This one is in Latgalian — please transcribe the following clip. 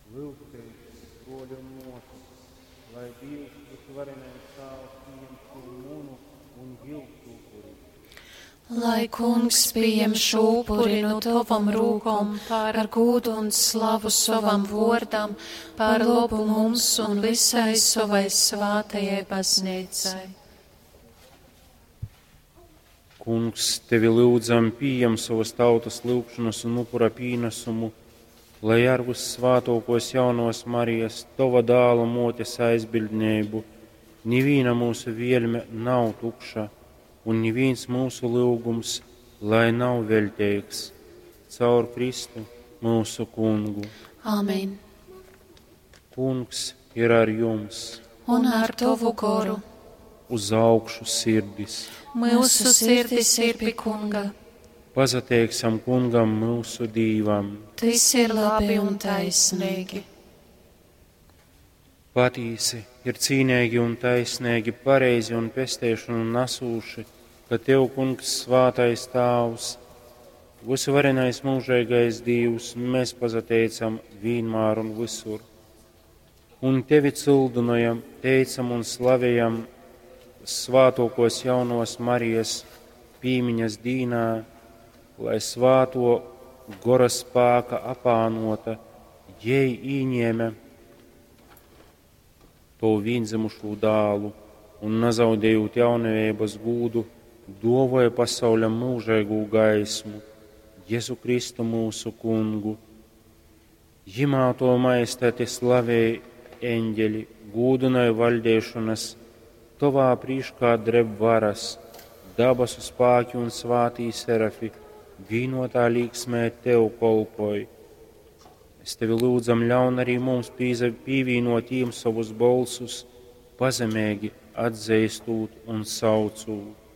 Lyugtēs, bruoļi un muosys, lai Dīvs, Vysuvarenais Tāvs, pījem šū munu un jiusu upuri. Lai Kungs pījem šo upuri no tavam rūkom par gūdu un slavu sovam vōrdam, par lobu mums un visai savai svātajai baznīcai. Kungs, tevi lyudzam, pījem sovas tautas lyugšanas un upura pīnesumu, lai ar vyssvātōkōs jaunōs Marijas, tova dāla mōtes aizbiļdneibu, nivīna mūsu vielme nav tukša un nivīns mūsu lyugums, lai nav veļteigs. Caur Kristu, mūsu kungu. Āmen. Kungs ir ar jums. Un ar tavu goru. Uz augšu sirdis. Mūsu sirdis ir pie kunga. Pasateiksim kungam mūsu Dīvam. Tas ir labi un taisnīgi. Patīsi ir cīnīgi un taisnīgi, pareizi un pesteišanu nesūši, ka Tev, Kungs, svātais Tāvs, vysuvarenais mūžīgais Dīvs, mēs pasateicam vienmēr un visur. Un Tevi cildinojam, teicam un slavējam svātokos jaunos Marijas pīmiņas dīnā, lai svāto gora spāka apānota, jej īņēma to vīnzemušū dālu un nezaudējot jaunavības gūdu, dovoja pasauļam mūžīgu gaismu, Jēzu Kristu mūsu kungu. Jimā to maestati slavēja eņģeļi, gūdināja valdēšanas, tovā prīškā dreb varas, dabasu spāki un svātī serafi, vīnotā līksmē tev kolpoj. Es tevi lūdzam, ļaun arī mums pīvīnot jiem savus bolsus, pazemīgi atzīstot un saucot.